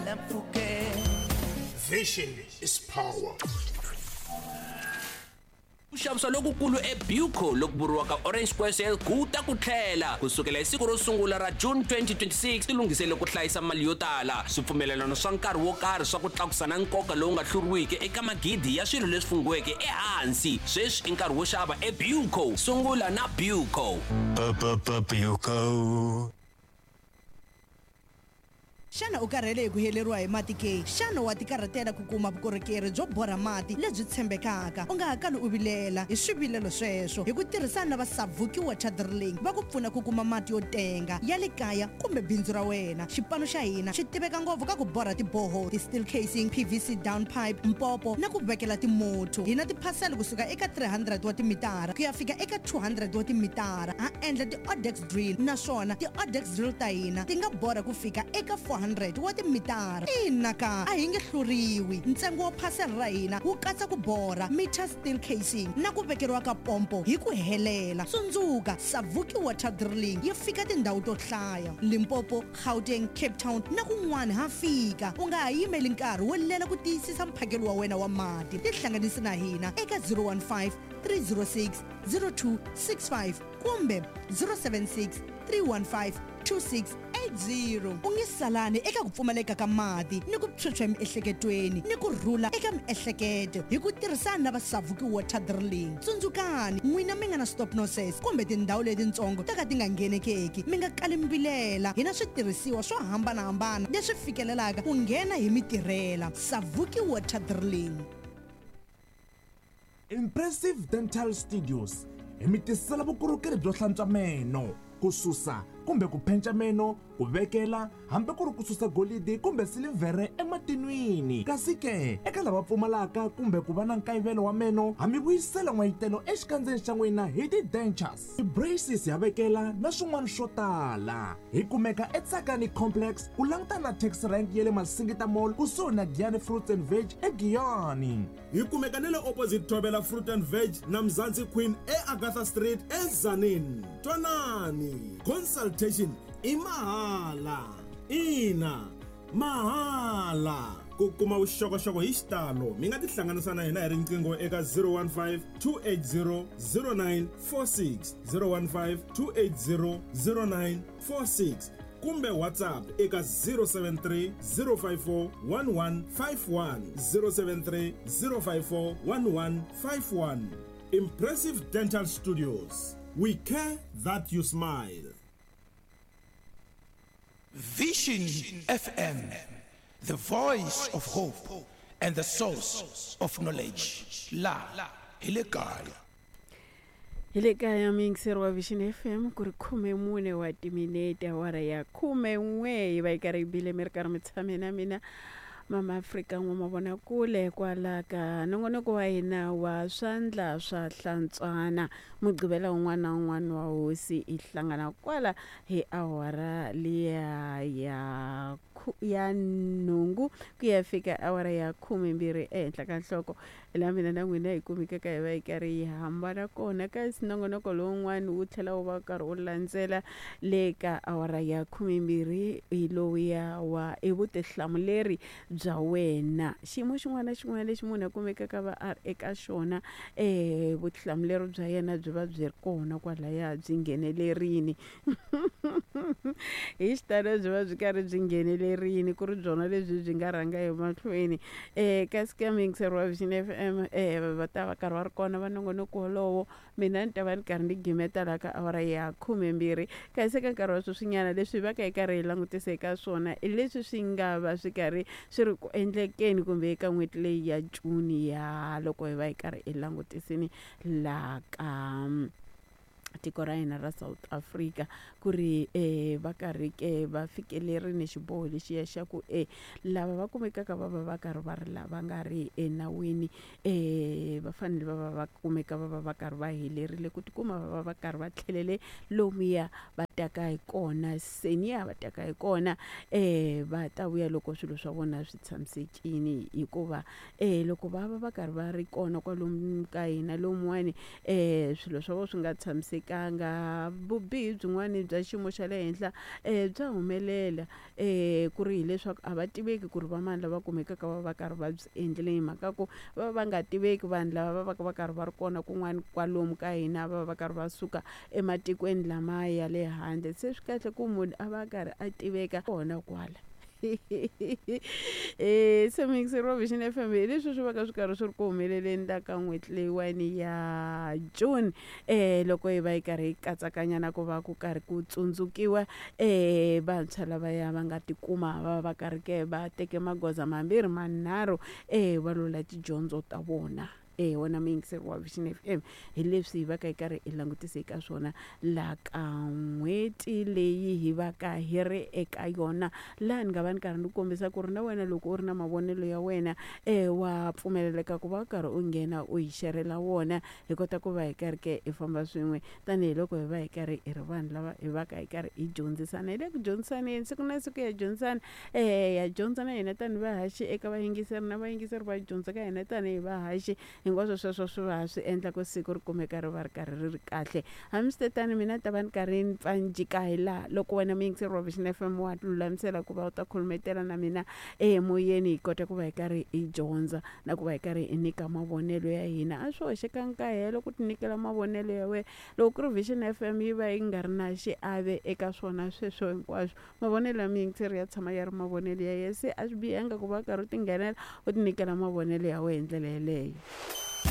hala mpfhukeni. Vision is power. Ku xavisa lokukulu eBuco loku vuriwaka Orange Square Sale ku ta ku tlhela ku sukela hi siku ro sungula ra June 2026. Tilunghisele ku hlayisa mali yo tala, swipfumelelano swa nkarhi wo karhi swa ku tlakusa na nkoka lowu nga hluriwiki eka magidi ya swilo leswi funghiweke ehansi. Sweswi i nkarhi wo xava eBuco. Sungula na Buco. Buco. Xana u karhele hi ku heleriwa hi mati ke? Xana wa tikarhatela ku kuma vukorhokeri byo borha mati lebyi tshembekaka? U nga ha kali u vilela hi swivilelo sweswo. Hi ku tirhisana na va Savuki Water Drilling, va ku pfuna ku kuma mati yo tenga ya le kaya kumbe bindzu ra wena. Xipano xa hina xi tiveka ngopfu ka ku borha ti-borehole, ti-steel casing, PVC down pipe, mpopo na ku vekela timothu. Hi na tiphasela kusuka eka 300 wa timitara ku ya fika eka 200 wa timitara. Ha endla ti-Odex drill, naswona ti-Odex drill ta hina ti nga borha ku fika eka 400 wa timitara. Ina ka, a hi nge hluriwi. Ntsengo wa phasela ra hina wu katsa ku borha, meter steel casing na ku vekeriwa ka pompo hi ku helela. Tsundzuka, Savuki Water Drilling yi fika tindhawu to hlaya: Limpopo, Gauteng, Cape Town na kun'wana ha fika. U nga ha yimeli nkarhi wo lela ku tiyisisa mphakelo wa wena wa mati. Tihlanganisi na hina eka 015 306 0265 kumbe 076 315 2680. U nge salani eka ku pfumaleka ka mati ni ku phyuphya emiehleketweni ni ku rhula eka miehleketo hi ku tirhisana na va Savuki Water Drilling. Tsundzukani, n'wina mi nga na stop nonsense kumbe tindhawu letitsongo to ka ti nga nghenekeki, mi nga kali mi vilela. Hi na switirhisiwa swo hambanahambana leswi fikelelaka ku nghena hi mi tirhela. Savuki Water Drilling. Impressive Dental Studios hi mi tisela vukorhokeri byo hlantswa meno, ku susa kumbe ku phenca meno, ku vekela hambi ku ri ku susa golidi kumbe silivhere ematinwini. Kasi ke eka lava pfumalaka kumbe ku va na nkayivelo wa meno, ha mi vuyisela n'wayitelo exikandzeni xa n'wina hi ti-dentures, ti-braces ha vekela na swin'wana swo tala. Hi kumeka eTsakani Complex ku langutana na taxi rank ya le Masingita Mall kusuhi na Giyani Fruits and Veg eGiyani. Hi kumeka ni le opposite Thobela Fruit and Veg na Mzansi Queen eAgatha Street eTzaneen. Twanani, consultation i mahala. Ina, mahala. Ku kuma vuxokoxoko hi xitalo, mi nga tihlanganisa na hina hi riqingho eka 015 280 0946, 015 280 0946 kumbe WhatsApp eka 073 054 1151, 073 054 1151. Impressive Dental Studios. We care that you smile. Vision FM, the voice of hope and the source of knowledge. La, hi le kaya. Hi le kaya, muyingiseri wa Vision FM, ku ri 14 wa timinete awara ya 11 yi va yi karhi yi bile, mi ri karhi mi tshame na mina Mama Afrika N'wamavonakule kwala ka nongonoko wa hina wa Swandla swa Hlantswana. Mugqivela wun'wana na wun'wana wa hosi hi hlangana kwala hi awara liya ya 8 ku ya fika awara ya 12 ehenhla ka nhloko, laha mina na n'wina hi kumekaka hi va hi karhi hi hambana kona. Kasi nongonoko lowun'wana wu tlhela wu va karhi wu landzela le ka awara ya 12, hi lowuya wa I Vutihlamuleri Bya Wena. Xiyimo xin'wana na xin'wana lexi munhu a kumekaka va a ri eka xona, vutihlamuleri bya yena byi va byi ri kona kwalaya, byi nghenelerini hi xitalo, byi va byi karhi byi nghenelerini, ku ri byona lebyi byi nga rhanga emahlweni. Kasi ka muyingiseri wa Vision FM, va ta va karhi va ri kona va nongonoko wolowo, mina ni ta va ni karhi ni gimeta laha ka awara ya 12. Kasi eka nkarhi wa sweswinyana, leswi va ka hi karhi hi langutisa eka swona i leswi swi nga va swi karhi swi ri ku endlekeni kumbe eka n'hweti leyi ya June, ya loko hi va hi karhi hi langutisini laha ka tiko ra hina ra South Africa, ku ri va karhi ke va fikelerini xiboho lexiya xa ku lava va kumekaka va va va karhi va ri lava nga ri enawini, va fanele va va va kumeka va va va karhi va helerile ku tikuma va va va karhi va tlhelele lomuya va taka hi kona, seniya va taka hi kona, va ta vuya loko swilo swa vona swi tshamisekile. Hikuva loko va va va karhi va ri kona kwalomu ka hina lomuwani, swilo swa vona swi nga tshamisekanga. hlayisekanga. Vubihi byin'wani bya xiyimo xa le henhla bya humelela ku ri hileswaku a va tiveki ku ri va mani lava kumekaka va va karhi va byi endlile, hi mhaka ku va va nga tiveki vanhu lava va va ka va karhi va ri kona kun'wana kwalomu ka hina, va va va karhi va suka ematikweni lamaya ya le handle. Se swi kahle ku munhu a va a karhi a tiveka kona kwala. Se muyingiseri wa Vision FM, hi leswi swi va ka swi karhi swi ri ku humeleleni la ka n'hweti leyiwani ya June, loko hi va hi karhi hi katsakanya na ku va ku karhi ku tsundzukiwa vantshwa lavaya va nga tikuma va va karhi ke va teke magoza mambirhi manharhu va lwela tidyondzo ta vona. Wena muyingiseri wa Vision FM, hi leswi hi va ka hi karhi hi langutise eka swona la ka n'hweti leyi hi va ka hi ri eka yona, laha ni nga va ni karhi ni kombisa ku ri na wena loko u ri na mavonelo ya wena wa pfumeleleka ku va u karhi u nghena u hi xerhela wona, hi kota ku va hi karhi ke hi famba swin'we tanihiloko hi va hi karhi hi ri vanhu lava hi va ka hi karhi hi dyondzisana. Hi le ku dyondzisaneni siku na siku, ya dyondzisana, ya dyondza na hina tanihi vahaxi eka vayingiseri, na vayingiseri va dyondza ka hina tanihi vahaxi. Hinkwaswo sweswo swi va swi endla ku siku ri kumeka ri va ri karhi ri ri kahle. Hambiswitetano, mina ta va ni karhi ni pfa ni jika hi laha loko wena muyingiseri wa Vision FM wa lulamisela ku va u ta khulumetela na mina emoyeni, hi kota ku va hi karhi hi dyondza na ku va hi karhi hi nyika mavonelo ya hina. A swi hoxekangi ka helo ku tinyikela mavonelo ya wena. Loko ku ri Vision FM yi va yi nga ri na xiave eka swona sweswo hinkwaswo, mavonelo ya muyingiseri ya tshama ya ri mavonelo ya yena, se a swi bihanga ku va karhi u tinghenela u tinyikela mavonelo ya wena hi ndlela yeleyo.